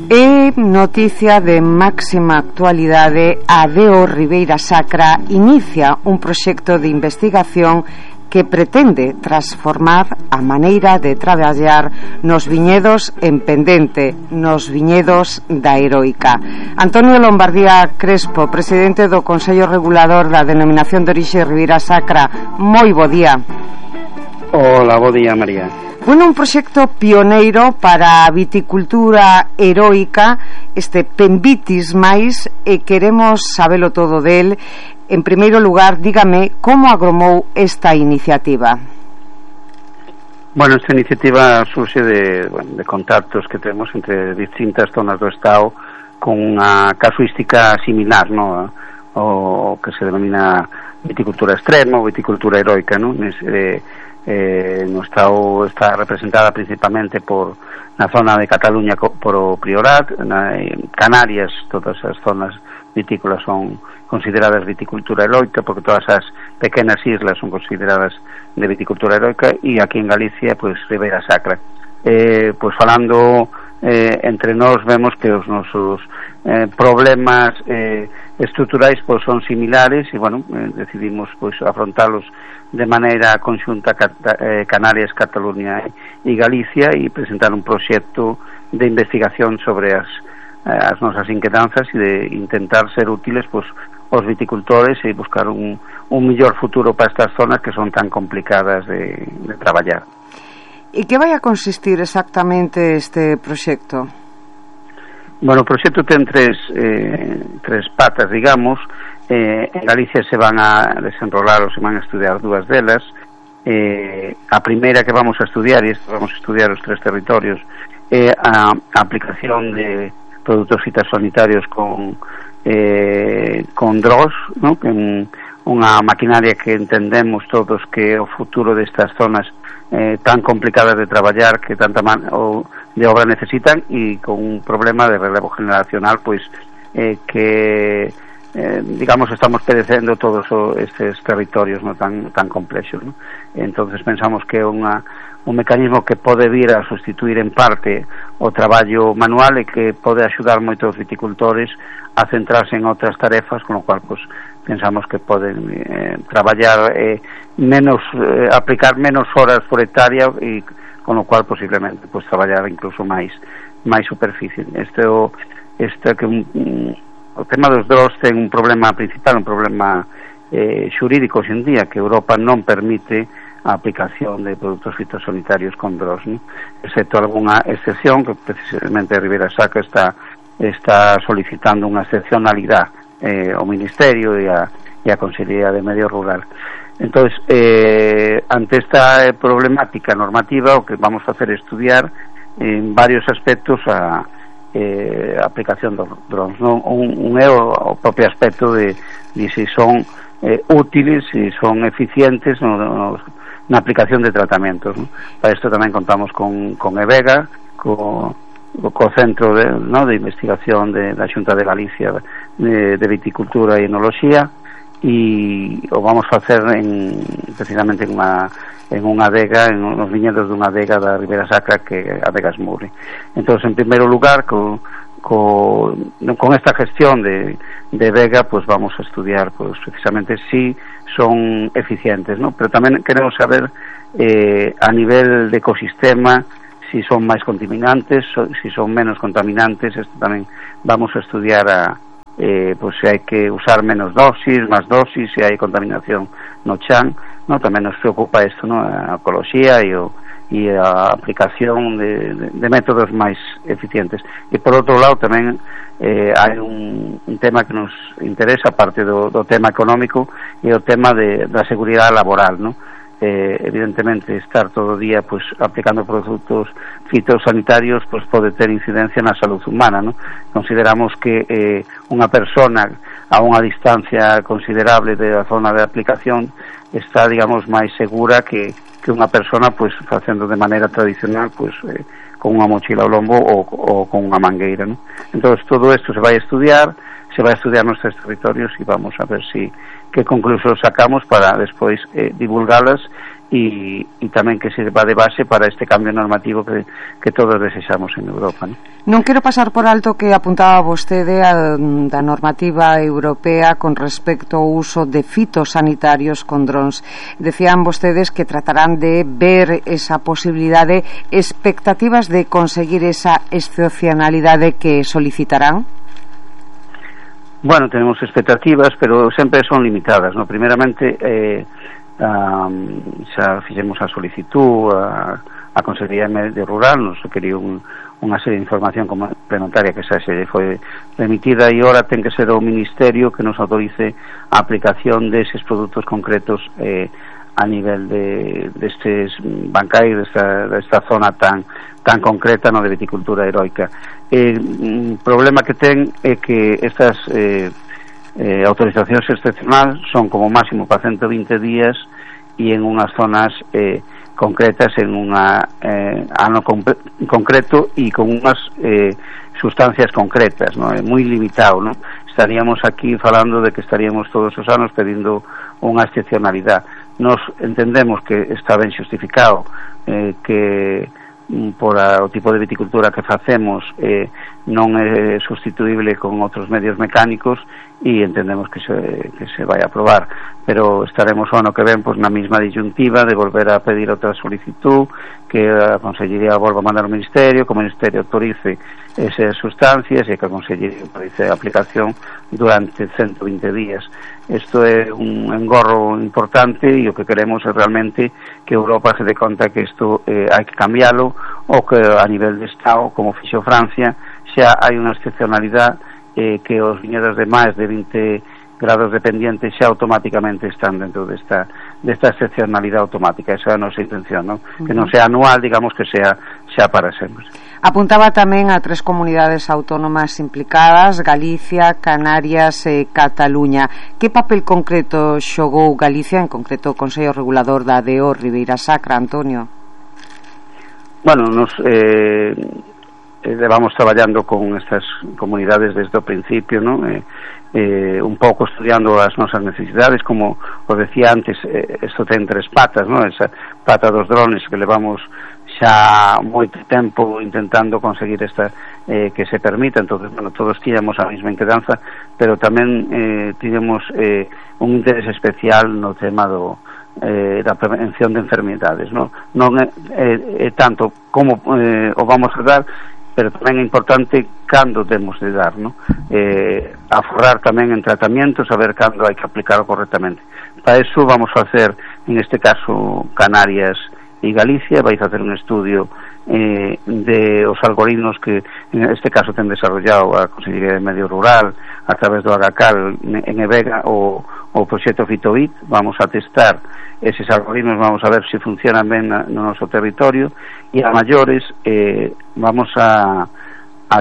É noticia de máxima actualidade. A DEO Ribeira Sacra inicia un proxecto de investigación que pretende transformar a maneira de traballar nos viñedos en pendente, nos viñedos da Heroica. Antonio Lombardía Crespo, presidente do Consello Regulador da Denominación de Orixe Ribeira Sacra, moi bo día. Hola, bo día, María. Bueno, un proxecto pioneiro para a viticultura heroica, este Penvitis máis, e queremos sabelo todo del. En primeiro lugar, dígame como agromou esta iniciativa. Bueno, esta iniciativa surxe de contactos que temos entre distintas zonas do Estado con unha casuística similar, no? O que se denomina viticultura extrema ou viticultura heroica, no? No Estado está representada principalmente na zona de Cataluña por o Priorat, Canarias, todas as zonas vitícolas son consideradas viticultura heroica porque todas as pequenas islas son consideradas de viticultura heroica, e aquí en Galicia, pois, Ribeira Sacra. Pois falando entre nós, vemos que os nosos problemas estruturais pois son similares e, bueno, decidimos pois afrontalos de maneira conxunta Canarias, Cataluña e Galicia, e presentar un proxecto de investigación sobre as nosas inquedanzas e de intentar ser útiles pois aos viticultores e buscar un mellor futuro para estas zonas que son tan complicadas de traballar. E que vai a consistir exactamente este proxecto? Bueno, o proxecto ten tres patas, digamos. En Galicia se van a desenrolar ou se van a estudiar dúas delas. A primeira que vamos a estudiar, e vamos a estudiar os tres territorios, é a aplicación de produtos fitosanitarios con drones, ¿no? Que unha maquinaria que entendemos todos que é o futuro destas zonas tan complicadas de traballar, que tanta de obra necesitan, e con un problema de relevo generacional pois que digamos estamos padecendo todos estes territorios, no tan complexos, ¿no? Entonces pensamos que é un mecanismo que pode vir a sustituir en parte o traballo manual e que pode axudar moitos viticultores a centrarse en outras tarefas, con o cual pues, pensamos que poden traballar menos, aplicar menos horas por hectárea, e con o cual posiblemente pues, traballar incluso máis superficie. O tema dos drones ten un problema principal, un problema xurídico hoxe en día, que Europa non permite a aplicación de produtos fitosanitarios con drones, ¿no? Excepto algunha excepción, que precisamente Ribeira Sacra está solicitando unha excepcionalidade ao Ministerio e a Consellería de Medio Rural. Entonces, ante esta problemática normativa, o que vamos a hacer é estudiar en varios aspectos a aplicación dos drones, ¿no? Un é o propio aspecto de se son útiles, se son eficientes na aplicación de tratamentos, ¿no? Para isto tamén contamos con EVEGA, co Centro de Investigación da Xunta de Galicia de Viticultura e Enoloxía, e o vamos a facer precisamente en unha adega, en os viñedos dunha adega da Ribeira Sacra, que é a Adega Esmurri. Entón, en primeiro lugar, con esta gestión de Vega, pues vamos a estudiar pues precisamente si son eficientes, ¿no? Pero tamén queremos saber a nivel de ecosistema si son máis contaminantes, si son menos contaminantes. Esto tamén vamos a estudiar pues si hai que usar menos dosis, máis dosis, si hai contaminación no chan, ¿no? Tamén nos preocupa isto, ¿no? A ecoloxía e a aplicación de métodos máis eficientes. E por outro lado tamén hai un tema que nos interesa, aparte do tema económico, e o tema da seguridade laboral, ¿no? Evidentemente estar todo o día pues aplicando produtos fitosanitarios pues pode ter incidencia na salud humana, ¿no? Consideramos que unha persona a unha distancia considerable da zona de aplicación está, digamos, máis segura que unha persona pues facendo de maneira tradicional pues con unha mochila ao lombo ou con unha mangueira, ¿no? Entonces todo isto se vai a estudiar nos territorios, e vamos a ver que conclusións sacamos para despois divulgalas e tamén que sirva de base para este cambio normativo que todos desexamos en Europa, Non quero pasar por alto que apuntaba vostede da normativa europea con respecto ao uso de fitosanitarios con drons. Decían vostedes que tratarán de ver esa posibilidade, expectativas de conseguir esa excepcionalidade que solicitarán? Bueno, tenemos expectativas, pero sempre son limitadas, ¿no? Primeramente, xa fixemos a solicitud a Consellería de Medio Rural, nos quería unha serie de información complementaria que xa se foi remitida, e ora ten que ser o Ministerio que nos autorice a aplicación deses produtos concretos a nivel destes bancais, desta zona tan concreta, no, de viticultura heroica. O problema que ten é que estas autorizacións excepcionais son como máximo para 120 días e en unhas zonas concretas, en un ano concreto e con unhas sustancias concretas, ¿no? É moi limitado, ¿no? Estaríamos aquí falando de que estaríamos todos os anos pedindo unha excepcionalidade. Nos entendemos que está ben xustificado, que por o tipo de viticultura que facemos non é sustituible con outros medios mecánicos, e entendemos que se vai a aprobar, pero estaremos o ano que ven na mesma disyuntiva de volver a pedir outra solicitud, que a Consellería volva a mandar ao Ministerio, que o Ministerio autorice esas sustancias e que a Consellería autorice a aplicación durante 120 días. Isto é un engorro importante, e o que queremos é realmente que Europa se dé conta que isto hai que cambiálo, ou que a nivel de Estado, como fixo Francia, xa hai unha excepcionalidade que os viñedos de máis de 20 grados de pendiente xa automáticamente están dentro desta excepcionalidade automática. Esa é a nosa intención, ¿no? Que non sea anual, digamos que sea xa para sempre. Apuntaba tamén a 3 comunidades autónomas implicadas: Galicia, Canarias e Cataluña. Que papel concreto xogou Galicia, en concreto o Consello Regulador da ADO Ribeira Sacra, Antonio? Bueno, nos vamos traballando con estas comunidades desde o principio, ¿no? Un pouco estudiando as nosas necesidades, como os decía antes, isto ten 3 patas, ¿no? Esa pata dos drones que levamos xa moito tempo intentando conseguir esta que se permita. Entonces, bueno, todos tíamos a mesma inquedanza, pero tamén tíamos un interés especial no tema da prevención de enfermedades, ¿no? Non é tanto como o vamos a dar, pero tamén é importante cando temos de dar, ¿no? Aforrar tamén en tratamiento, saber cando hai que aplicarlo correctamente. Para eso vamos a hacer, en este caso, Canarias e Galicia. Vais a hacer un estudio de os algoritmos que en este caso ten desarrollado a Consellería de Medio Rural a través do AGACAL en EVEGA, o proxecto Fitovit. Vamos a testar eses algoritmos, vamos a ver se funcionan ben no noso territorio, e a maiores vamos a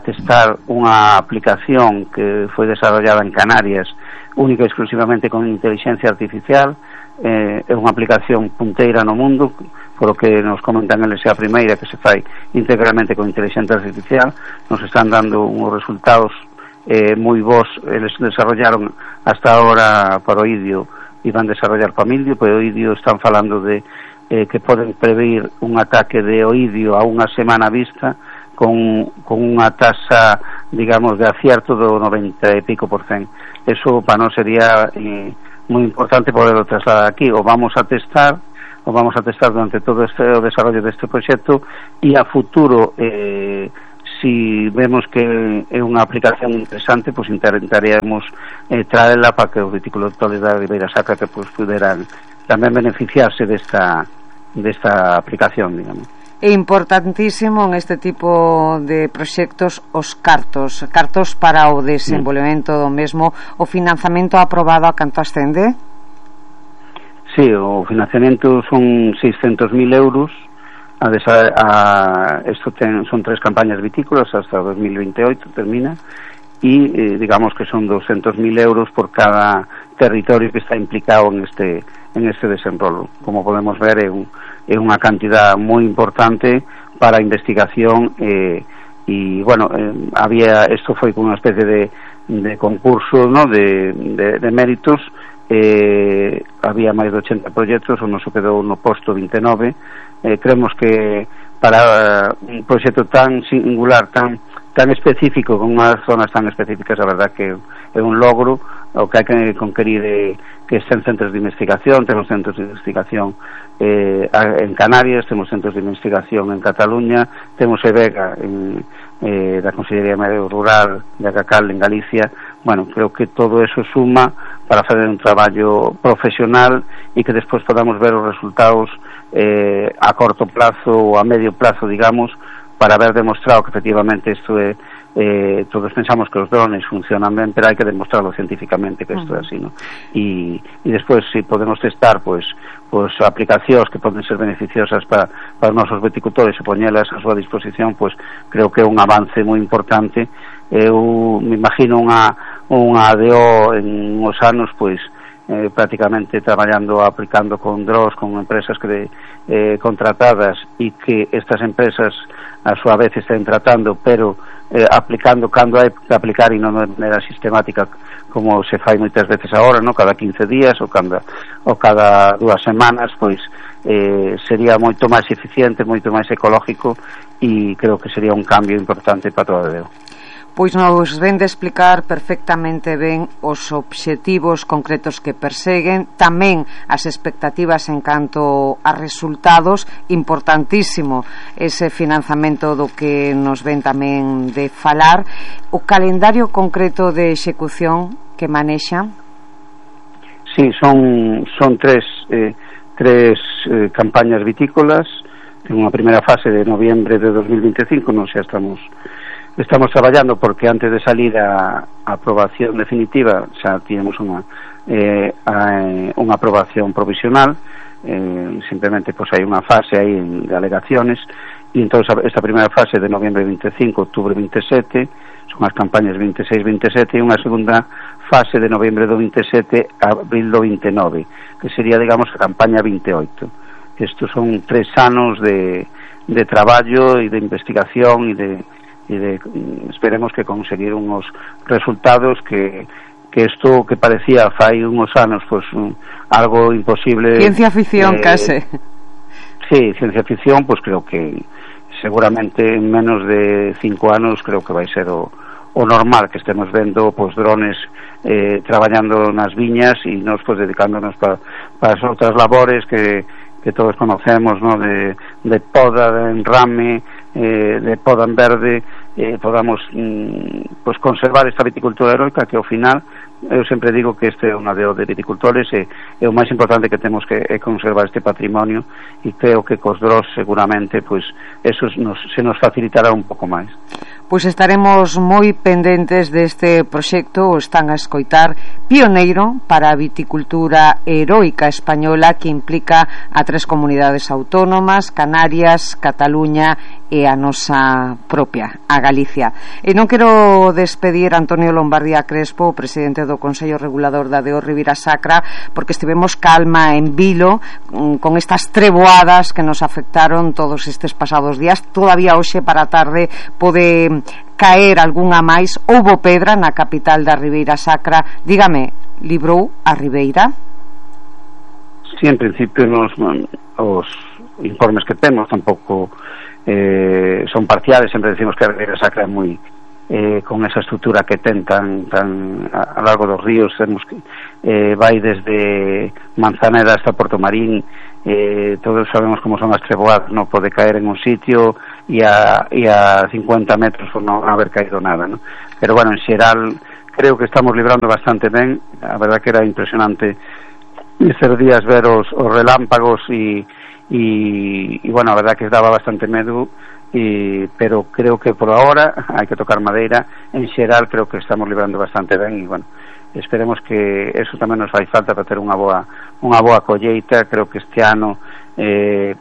testar unha aplicación que foi desarrollada en Canarias única e exclusivamente con inteligencia artificial. É unha aplicación punteira no mundo, por o que nos comentan eles, é a primeira que se fai integralmente con inteligencia artificial. Nos están dando uns resultados moi bons. Eles desarrollaron hasta ahora para o idio e van desarrollar para mildio. Para o idio están falando de que poden prever un ataque de oidio a unha semana vista con unha tasa, digamos, de acierto do 90 e pico %. Eso para nós sería moi importante poderlo trasladar aquí. O vamos a testar durante todo o desarrollo deste proxecto, e a futuro si vemos que é unha aplicación interesante, pues intentaríamos traerla para que os viticultores da Ribeira Sacra que pues puderan tamén beneficiarse desta aplicación, digamos. É importantísimo en este tipo de proxectos os cartos para o desenvolvemento do mesmo. O financiamento aprobado a canto ascende? Sí, o financiamento son 600.000 euros. Son 3 campañas vitícolas hasta 2028 termina, e digamos que son 200.000 euros por cada territorio que está implicado en este desenrolo. Como podemos ver, é unha cantidad moi importante para a investigación, e bueno, isto foi con unha especie de concurso, ¿no? de méritos, había máis de 80 proxectos, o noso quedou no posto 29. Creemos que para un proxecto tan singular, tan específico, con unhas zonas tan específicas, a verdad que é un logro. O que hai que conquerir que estén centros de investigación. Temos centros de investigación en Canarias, temos centros de investigación en Cataluña, temos EVEGA da Consellería de Medio Rural de Acacal en Galicia. Bueno, creo que todo eso suma para fazer un traballo profesional e que despois podamos ver os resultados a corto plazo ou a medio plazo, digamos, para haber demostrado que efectivamente isto é todos pensamos que os drones funcionan ben, pero hai que demostrarlo científicamente que isto é así, ¿no? E despois, se podemos testar pois aplicacións que poden ser beneficiosas para os nosos viticultores e poñelas a súa disposición, pois creo que é un avance moi importante. Eu me imagino unha ADO en uns anos pois prácticamente traballando, aplicando con drones, con empresas que contratadas, e que estas empresas a súa vez estén tratando, pero aplicando cando hai que aplicar e non de maneira sistemática como se fai moitas veces agora, no? Cada 15 días ou cada 2 semanas, pois sería moito máis eficiente, moito máis ecológico, e creo que sería un cambio importante para toda a Deo. Pois nos ven de explicar perfectamente ben os obxectivos concretos que perseguen, tamén as expectativas en canto a resultados. Importantísimo ese financiamento do que nos ven tamén de falar. O calendario concreto de execución que manexa? Sí, son tres campañas vitícolas. En unha primeira fase de noviembre de 2025, non xa estamos traballando, porque antes de salir a aprobación definitiva xa tínhamos unha aprobación provisional. Simplemente pois hai unha fase aí de alegaciones, e entón esta primeira fase de noviembre 25, outubro 27 son as campañas 26-27, e unha segunda fase de noviembre do 27 a abril do 29, que sería, digamos, a campaña 28. Estos son 3 anos de traballo e de investigación e de esperemos que conseguir unos resultados que isto que parecía fai unos anos pois algo imposible, ciencia ficción case. Sí, ciencia ficción, pois creo que seguramente en menos de 5 anos creo que vai ser o normal, que estemos vendo pois drones traballando nas viñas e nos pois dedicándonos para as outras labores que todos conocemos, ¿no? de poda, de enrame, de poda en verde, podamos pois conservar esta viticultura heroica, que ao final eu sempre digo que este é unha ADO de viticultores, e o máis importante que temos que é conservar este patrimonio, e creo que cos dros seguramente pois eso se nos facilitará un pouco máis. Pois estaremos moi pendentes deste proxecto. O están a escoitar, pioneiro para a viticultura heroica española, que implica a 3 comunidades autónomas: Canarias, Cataluña e a nosa propia, a Galicia. E non quero despedir a Antonio Lombardía Crespo, o presidente do Consello Regulador da ADO Ribeira Sacra, porque estivemos calma en vilo con estas treboadas que nos afectaron todos estes pasados días. Todavía hoxe para a tarde pode caer algunha máis. Houbo pedra na capital da Ribeira Sacra. Dígame, librou a Ribeira? Sí, en principio os informes que temos tampouco son parciales. Sempre decimos que a Ribeira Sacra é moi con esa estrutura que ten tan a largo dos ríos. Temos que vai desde Manzaneda hasta Porto Marín. Todos sabemos como son as treboadas, non pode caer en un sitio e a 50 metros por non haber caído nada, ¿no? Pero bueno, en xeral creo que estamos librando bastante ben. A verdad que era impresionante estes días ver os relámpagos e bueno, a verdad que daba bastante medo, pero creo que por ahora hai que tocar madeira. En xeral creo que estamos librando bastante ben, e bueno, esperemos que eso tamén nos fai falta para ter unha boa colleita. Creo que este ano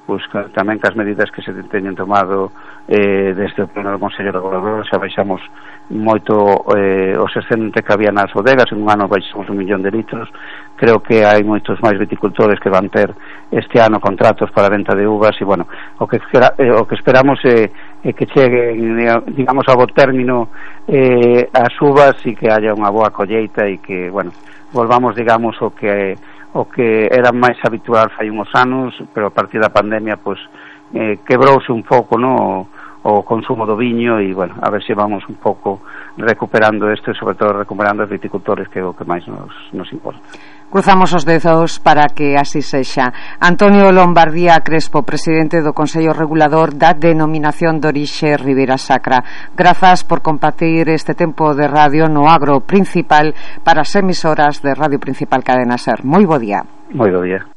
pois tamén cas medidas que se teñen tomado desde o pleno do Consello Regulador xa baixamos moito os excedentes que había nas bodegas. En un ano baixamos 1 millón de litros. Creo que hai moitos máis viticultores que van ter este ano contratos para a venta de uvas, e bueno, o que esperamos é que cheguen, digamos, a bo término as uvas e que haya unha boa colleita e que, bueno, volvamos, digamos, o que era máis habitual fai uns anos, pero a partir da pandemia, pois, quebrouse un pouco, no, o consumo do viño e, bueno, a ver se vamos un pouco recuperando isto e, sobre todo, recuperando os viticultores, que é o que máis nos importa. Cruzamos os dedos para que así sexa. Antonio Lombardía Crespo, presidente do Consello Regulador da Denominación de Orixe Ribeira Sacra. Grazas por compartir este tempo de radio no Agro Principal para as emisoras de Radio Principal Cadena Ser. Moi bo día. Moi bo día.